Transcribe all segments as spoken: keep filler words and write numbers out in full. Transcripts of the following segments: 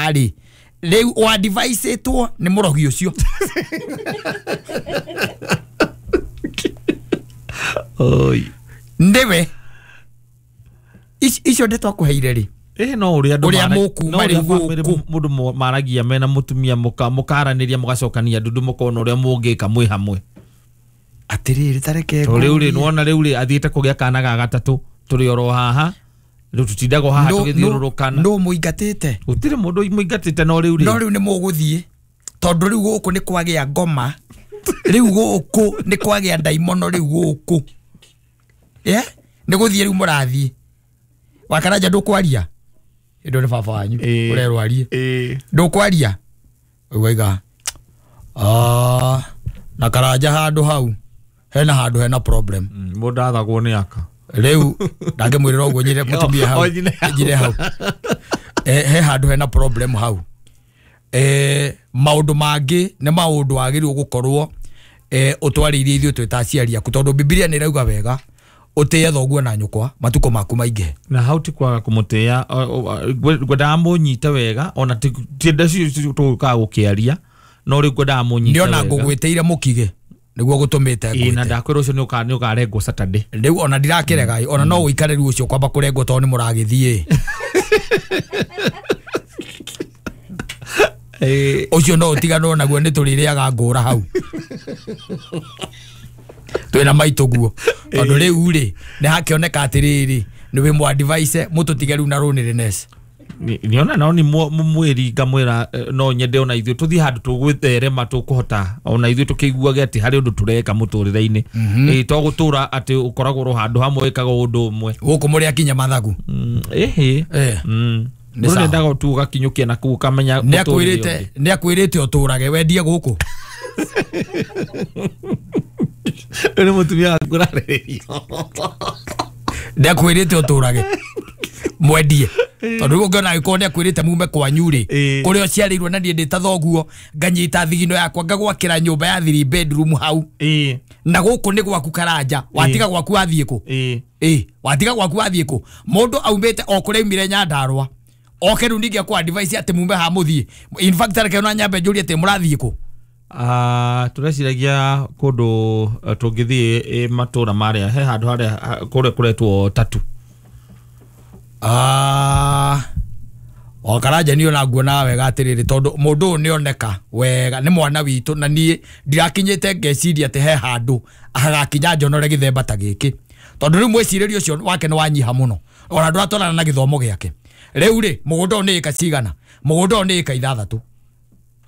haha rĩ rĩu ũadviceĩtwo nĩ mũrogi ũcio. Oi. Nĩwe icio ndeto akũheire rĩ eh no uria andu uria mũkuma rĩu gũkũ mũndũ maragia mena mũtumia mũka mũkaranĩria mũgacokania ndundu mũkona ũrĩa mũngĩka mwĩ hamwe. Atĩrĩrĩ tareke to rĩu rĩ nĩwona rĩu rĩ athiĩte kũgĩa kana ga gatatũ tũrĩ oro haha rĩu tũtindagwo haha tũgĩthiũrũrũkana. No mũingatĩte gũtirĩ mũndũ mũingatĩte no rĩu rĩ no rĩu nĩ mũgũthiĩ tondũ rĩu gũkũ nĩ kwagĩa ngoma rĩu gũkũ nĩ kwagĩa ndaimono rĩu gũkũ eh nĩ gũthiĩ rĩu mũrathiĩ Wakaranja ndũkwaria ĩndo nĩ baba wanyu ũrerwo arie ndũkwaria ũgaiga ah na Karanja handũ hau hena handũ hena problem mũndũ athagwo nĩ aka rĩu ndangĩmwĩrĩra ũguo nyire mũtumia hau njire hau eh he handũ hena problem hau eh maũndũ mangĩ nĩ maũndũ wagĩrĩirwo gũkorwo eh ũtwarĩirie ithuĩ twĩ ta aciari aku tondũ Bibilia nĩ ĩrauga wega ũtĩe thoguo na nyũkwa matukũ maku maingĩhe. Na hau ti kwaga kũmũtĩĩa ngwendaga mũnyite wega ona ti ndecio tũgũkaga gũkĩaria no rĩu ngwendaga mũnyite wega. Nĩona ngũgwĩtĩire mũkige nĩguo gũtũmĩte ngwĩte. Na ndakwĩra ũcio nĩ ũkarengwo Saturday. Rĩu ona ndirakĩrega ona no ũikare rĩu ũcio kwamba kũrengwo tondũ nĩ mũragĩthiĩ. Ũcio no ũtiganwo naguo nĩ tũrĩrĩaga ngũra hau. Twĩna maitũ guo tondũ rĩu rĩ nĩ hakĩoneka atĩrĩrĩ nĩ wĩ mũ advice mũtũtige rĩu na loneliness. Niona nao nĩ mwĩri ngamwĩra no nyende ona ithuĩ tũthiĩ handũ tũgwĩtherema tũkũhota ona ithuĩ tũkĩiguage atĩ harĩ ũndũ tũreka mũtũrĩre-inĩ ĩ to gũtũra atĩ ũkoragwo ro handũ hamwe wĩkaga ũndũ ũmwe gũkũ mũrĩ akinya mathagu ĩhĩ mũndũ nĩendaga tu ũgakinyũkia na kũu ũkamenya nĩ akwĩrĩte ũtũrage wendie gũkũ. Nĩ mũtumia waku ũrarĩrĩria nĩ akwĩrĩte ũtũrage mwendie tondũ rĩu ũngĩona angĩkorwo nĩ akwĩrĩte mume kwanyu rĩ kũrĩa ũciarĩirwo na niĩ ndĩ ta thoguo nganyita thigino yakwa ngagwakĩra nyũmba ya three bedroom hau na gũkũ nĩ gwaku Karanja watiga gwaku wathiĩ kũ ĩ watiga gwaku wathiĩ kũ mũndũ aumĩte o kũrĩa aumire Nyandarũa oke rĩu ningĩ akũ advice atĩ mume ha mũthiĩ. In fact reke ona nyambe njũrie atĩ mũrathiĩ kũ. Ah tũreciragia kũndũ tũngĩthiĩ matũra marĩa he handũ harĩa kũrĩa kũretwo tatu. Ah o Karanja niĩ ona nguona wega atĩrĩrĩ tondũ mũndũ ũyũ nĩoneka wega nĩ mwana witũ na niĩ ndirakinyĩte ngeciria atĩ he handũ hagakinya njonore gĩthemba ta gĩkĩ tondũ rĩu mwĩcirĩrio ũcio wake nĩ wanyiha mũno ona ndũratwarana na gĩthomo gĩake. Rĩu rĩ mũgũnda ũyũ nĩ ĩka cigana mũgũnda ũyũ nĩ ĩka ithathatũ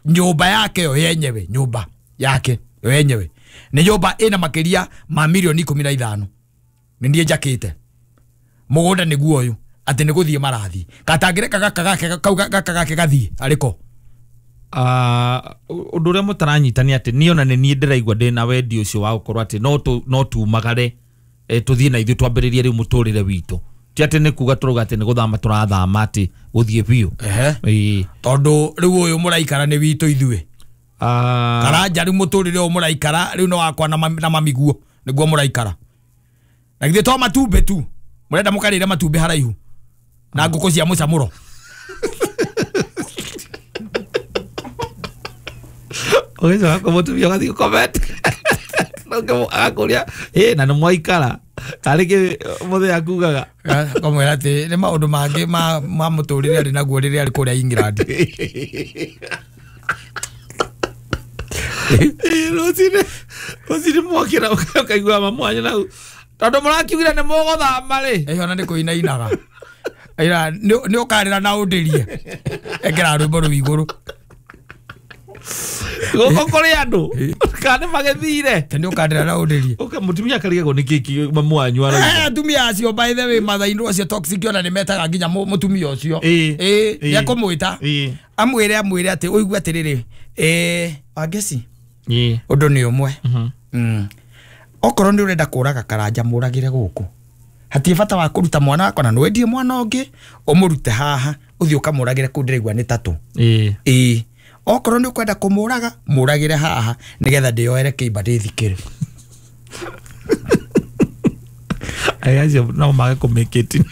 nyũmba yake yo yenyewe nyũmba yake yo yenyewe nĩ nyũmba ĩna makĩria ma milioni ikũmi na ithano nĩ niĩ njakĩte mũgũnda nĩguo ũyũ atĩ nĩ gũthiĩ marathiĩ katangĩreka gaka gake kau gaka gake gathiĩ arĩko. Ah ũndũ ũrĩa mũtaranyita nĩ atĩ niĩ ona nĩ niĩ ndĩraigua ndĩna wendi ũcio wa gũkorwo atĩ no no tumagare tũthiĩ na ithuĩ twambĩrĩrie rĩu mũtũrĩre witũ ti atĩ nĩ kuga tũrauga atĩ nĩ gũthama tũrathama atĩ gũthiĩ biũ tondũ rĩu ũyũ mũraikara nĩ witũ ithuĩ. Karanja rĩu mũtũrĩre ũyũ mũraikara rĩu nĩ wakwa na mamiguo nĩguo mũraikara na githĩ to matumbĩ tu mũrenda mũkarĩre matumbĩ haraihu na ngũkũ cia mũcamũro. Ũgĩcoka kwa mũtumia ũgathiĩ comment agakũria ĩ na nĩ mwaikara tarĩ kĩ mũthenya akugaga akamwĩra atĩ nĩ maũndũ mangĩ ma ma mũtũrĩre arĩ naguo rĩrĩa arĩ kũrĩa England. Rũcinĩ rũcinĩ mwokĩra ũkaigua mamwanyu nau tondũ mũrakiugire nĩ mũgũthama rĩ ĩ ona nĩ kũinainaga ira nĩ ũkarĩra na ũndĩrie ekĩra rwĩmbo rũu igũrũ gũkũ kũrĩ andũ kana nĩ magĩthire nĩ ũkandĩra na ũndĩrie ũka mũtumia akarigagwo nĩ kĩĩ mamu wanyu arauga. Atumia acio by the way mathainũ acio toxic ona nĩ metaga nginya mũtumia ũcio ĩ nĩ akũmwĩta amwĩre amwĩre atĩ ũigue atĩrĩrĩ ĩ Wangeci ũndũ nĩ ũmwe okorwo nĩ ũrenda kũraga Karanja mũragĩre gũkũ hatirĩ bata wa kũruta mwana wakwa na nĩwendie mwana ũngĩ ũmũrute haha ũthiĩ ũkamũragĩre kũu ndĩraigua nĩ tatũ ĩ okorwo nĩ ũkwenda kũmũraga mũragĩre haha nĩgetha ndĩyoere kĩimba ndĩthikĩre. Aya acio no mage kũmĩkĩti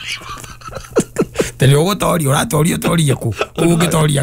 tene ũgũtoria ũratoria ũtorie kũ ũngĩtoria